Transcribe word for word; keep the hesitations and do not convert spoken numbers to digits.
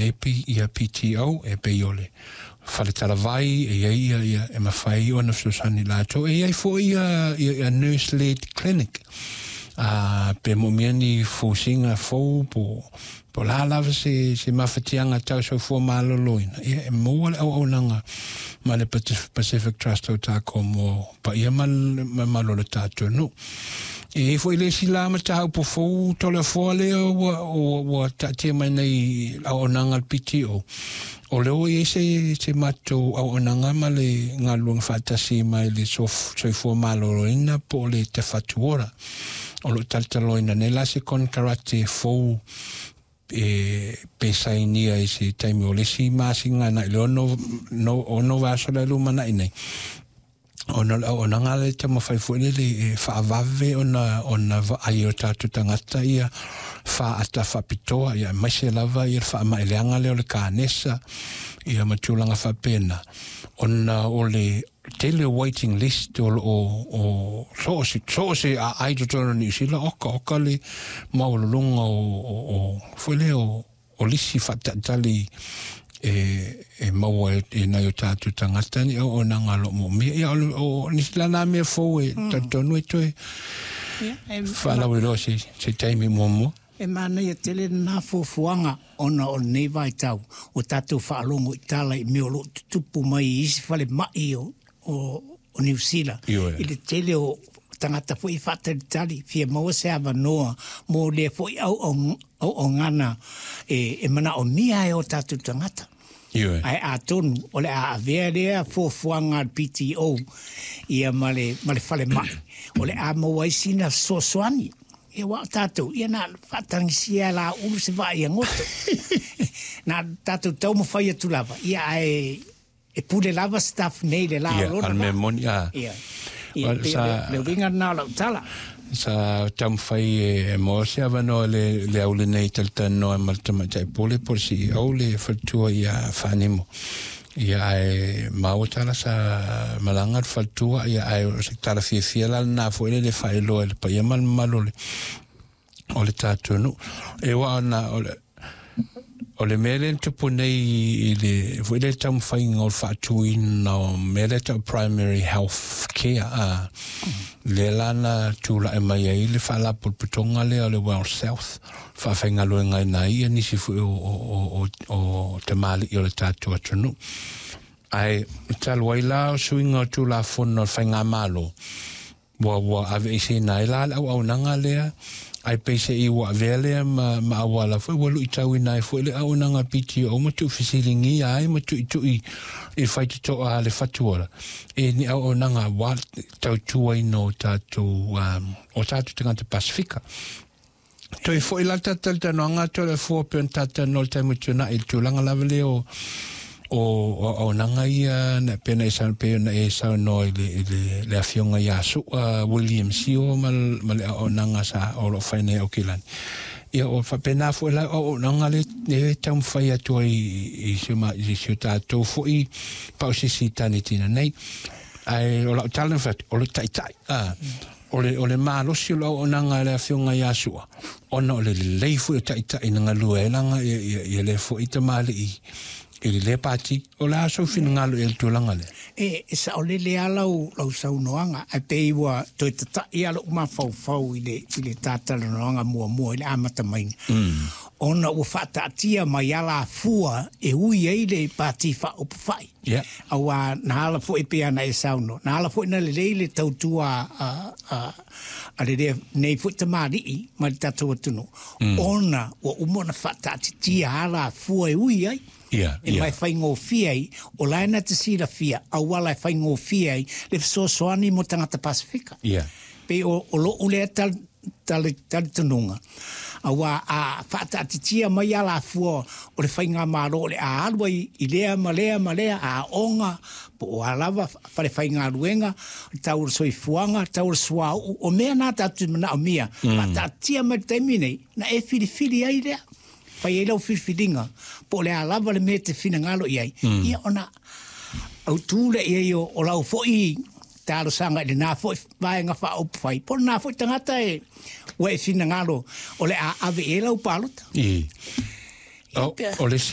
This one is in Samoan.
ai ia P T O e pei o le faletalavai e iai ia ia e mafai ona fesoasoani latou. E iai foʻi ia ia nurse led clinic a pe moomia ni fusiga fou po po la lava se se mafatiaga tau soifua malōlōina ia e maua le auaunaga ma le Pacific Trust o takou mo paia ma mamalu o le tatou nuu. E iai foʻi le isi la mataupu fou Toleafoa lea ua ua taatia mai nei auaunaga le P T O o le ua iai se se matou auaunaga ma le galuega faatasi mai le soifua malōlōina po o le tafatuora o loo talataloina nei la se konekarate fou e pe sainia i se taimi o le isi masina agai le ono no ono vaiaso le lumanai nei ona o le auaunaga lea e taumafai foʻi lele e faavave ona ona vaai o tatou tagata ia faata faapitoa ia aemaise lava ia le faamaeleaga lea o le kanesa ia ma tulaga faapena ona o le tele o waiting list o loo o so o se so o se aai i totonu o Niu Sila oka oka le maualuluga o o foi lea o o lisi faataʻitali e e maua e nai o tatou tagata ni auaunaga o loo moomia ia o nisi la na mea fou e talitonu e toe faalauiloa se se taimi muamua. E manaia tele lena fuafuaga ona o lenei vaitau ua tatou faalogo i tala i mea o loo tutupu mai i isi falemai o o o Niu Sila i le tele o tagata foʻi faatalitali fia maua se avanoa mo lea foʻi auaunaga e e manaomia ai o tatou tagata. Ae atonu o le a avea lea fuafuaga a le P T O ia ma le ma le falemai o le a maua ai sina fesoasoani. Ia aua o tatou, ia na faatagisia e laulu se vaai a goto. Na tatou taumafai atu lava, ia ae e pule lava staff nei le la o Ia, lona a le mea vaa. moni, a. Ia, ia, Well, pei o sa le, le uiga lena o lau tala. Sa taumafai e maua se avanoa le le auli nei talatalanoa ma le tamaitai pule po o le C E O le faletua ia Fanimo. Ia ae maua tala sa malaga le faletua ia ae o se tala fiafia la lena foʻi le le faailoa i le paia ma le mamalu o le o le tatou nuu. E ua ona o le o le mea lea na tupu nei i le foʻi le taumafaiga o le faatuina o mea lea tau primary health care a lea la na tulaʻi mai ai le faalapotopotoga lea o le Well South faafaigaluegaina ai ia nisi foʻi o o o o tamalii o le tatou atunuu. Ae talu ai la o suiga o tulafono o le faigamalo ua ua aveeseina ai la le auaunaga lea ai peiseʻi ua avea lea ma ma auala foʻi ua luʻitauina ai foʻi le auaunaga P T O ma tuufesiligia ai ma tuʻituʻi i faitotoa a le fatuola e ni auaunaga auā tautuaina o tatou um, o tatou tagata Pasifika. Toe foʻi la le talatalanoaga Toleafoa pei ona tatalanoa i le taimi o tuanaʻi i le tulaga lava lea o o auaunaga ia na pei ona e pei ona e saunoa i le i le le afioga ia Su'a William Sio ma ma le auaunaga sa o loo fai nei Aukilani. Ia o faapena foʻi la auaunaga le e taumafai atu ai i si o ma i si o tatou foʻi pausisi tanitina nei. Ae o lau tala na fai atu o le taʻitaʻi a o le o le malosi o le auaunaga a le afioga ia Su'a ona o le lelei foʻi o taʻitaʻi na galue ai laga ia ia ia lea foʻi tamalii i le lea pati o le a sou finagalo i le tulaga lea. E e saolele lava lau lau saunoaga ae pei ua toe tataʻi lava loʻu mafaufau i le i le tatalanoaga muamua i le amata maiga ona ua faataatia mai alafua e ui ai le pati faaupufai. Ia. Auā na ala foʻi pei ona e saunoa na ala foʻi na lelei le tautua a a a le lea nei foʻi tamalii ma le tatou atunuu ona ua uma ona faataatitia alafua e ui ai. Ia, E ia. mai faigofie ai, o la e na te silafia, auala e faigofie ai, le fesoasoani mo tagata Pasifika. Ia. Pei o, o loʻu lea tal, tal, talitonuga, auā a faataatitia mai alafua o le faigamalo o le a alu ai i lea ma lea ma lea aoga, po o a lava falefaigaluega, o le tau o le soifuaga, tau o le suauu, o mea na tatou te manaomia, mm. faataatia mai le taimi nei, na e filifili ai lea. Fai ai lau filifiliga po o le a lava le mea e te finagalo i ai, ia ona autū lea i ai o, o lau foʻi talosaga i lenā foʻi vaega faaupufai po o lenā foʻi tagata e ua e finagalo o le a ave i ai lau palota. I. Ia O, pea o le